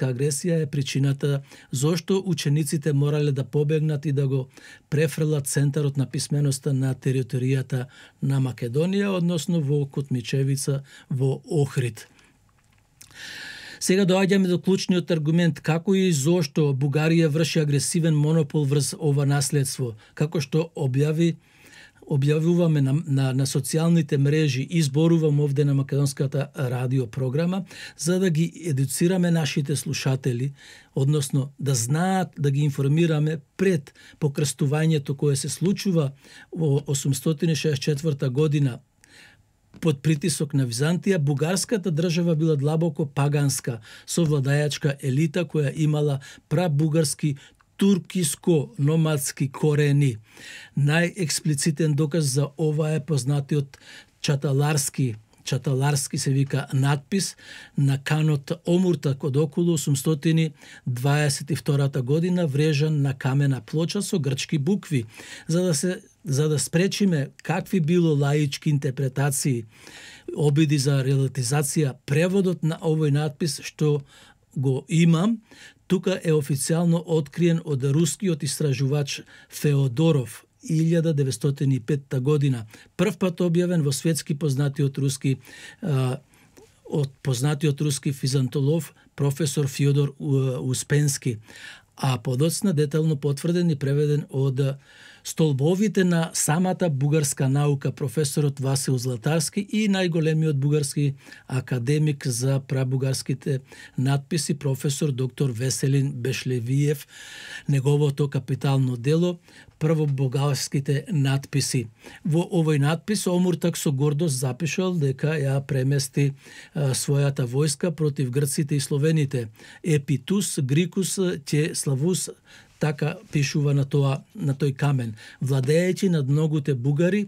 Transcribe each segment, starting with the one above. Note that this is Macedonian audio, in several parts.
агресија е причината зошто учениците морале да побегнат и да го префрлат центарот на писменоста на територијата на Македонија, односно во Котмичевица, во Охрид. Сега доаѓаме до клучниот аргумент како и зошто Бугарија врши агресивен монопол врз ова наследство, како што објавуваме на социјалните мрежи и зборувам овде на македонската радио програма, за да ги едуцираме нашите слушатели, односно да знаат, да ги информираме пред покрстувањето кое се случува во 864 година под притисок на Византија. Бугарската држава била длабоко паганска, со владајачка елита која имала прабугарски туркиско-номадски корени. Најексплицитен доказ за ова е познатиот чаталарски се вика надпис на канот Омуртак од околу 822 година, врежан на камена плоча со грчки букви, за да спречиме какви било лаички интерпретации, обиди за релатизација. Преводот на овој надпис што го имам тука е официјално откриен од рускиот истражувач Феодоров 1905 година. Прв пат објавен во светски познатиот руски физантолог професор Фјодор Успенски, а подоцна детално потврден и преведен од столбовите на самата бугарска наука професорот Васил Златарски и најголемиот бугарски академик за прабугарските надписи професор доктор Веселин Бешлевиев, неговото капитално дело првобугарските надписи. Во овој надпис Омуртак со гордост запишал дека ја премести својата војска против грците и словените. Епитус Грикус ќе славус, така пишува на тој камен, владејќи над многуте бугари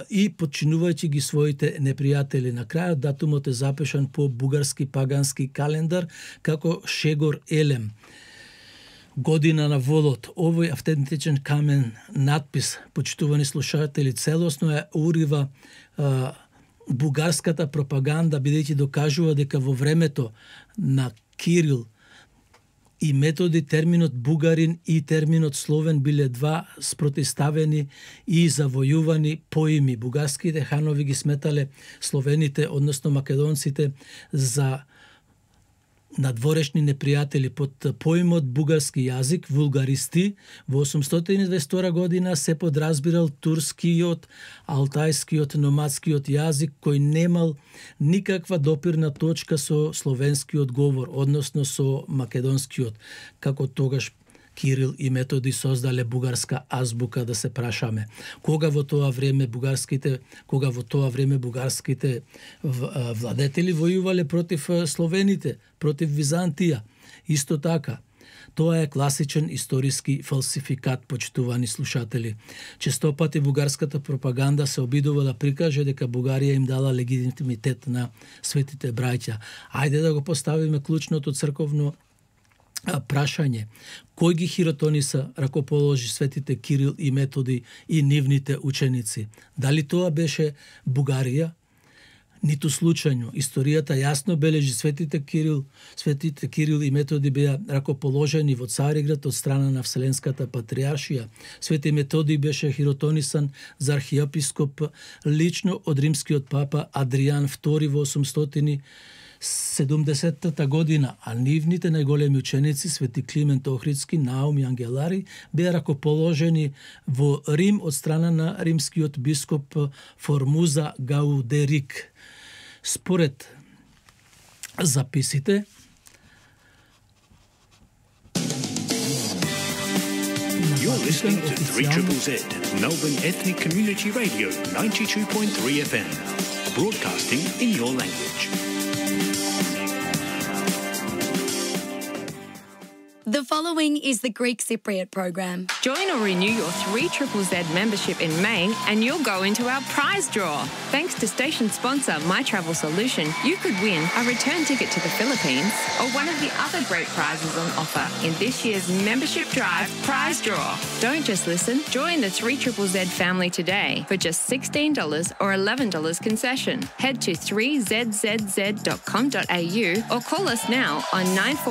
и подчинувајќи ги своите непријатели. На крајот датумот е запишан по бугарски пагански календар како Шегор Елем. Година на волот. Овој автентичен камен надпис, почитувани слушатели, целосно е урива бугарската пропаганда, бидејќи докажува дека во времето на Кирил и Методи терминот бугарин и терминот словен биле два спротивставени и завојувани поими. Бугарските ханови ги сметале словените, односно македонците, за надворешни непријатели. Под поимот бугарски јазик, вулгаристи, во 822 година се подразбирал турскиот, алтајскиот, номадскиот јазик, кој немал никаква допирна точка со словенскиот говор, односно со македонскиот, како тогаш Кирил и Методи создале бугарска азбука, да се прашаме. Кога во тоа време бугарските владетели војувале против словените, против Византија. Исто така, тоа е класичен историски фалсификат, почитувани слушатели. Често пати бугарската пропаганда се обидува да прикаже дека Бугарија им дала легитимитет на светите браќа. Ајде да го поставиме клучното црковно прашање. Кој ги хиротониса, ракоположи светите Кирил и Методи и нивните ученици? Дали тоа беше Бугарија? Ниту случајно. Историјата јасно бележи светите Кирил и Методи беа ракоположени во Цариград од страна на Вселенската патриаршија. Свети Методи беше хиротонисан за архиепископ лично од римскиот папа Адријан II во 870 година, а нивните најголеми ученици, свети Климент Охридски, Наум и Ангелари, беа ракоположени во Рим од страна на римскиот бископ Формуза Гаудерик. Според записите, You're listening to 3ZZZ, Melbourne Ethnic Community Radio, 92.3 FM, broadcasting in your language. The following is the Greek Cypriot program. Join or renew your 3ZZZ membership in May and you'll go into our prize draw. Thanks to station sponsor My Travel Solution, you could win a return ticket to the Philippines or one of the other great prizes on offer in this year's Membership Drive prize draw. Don't just listen, join the 3ZZZ family today for just $16 or $11 concession. Head to 3zzz.com.au or call us now on 941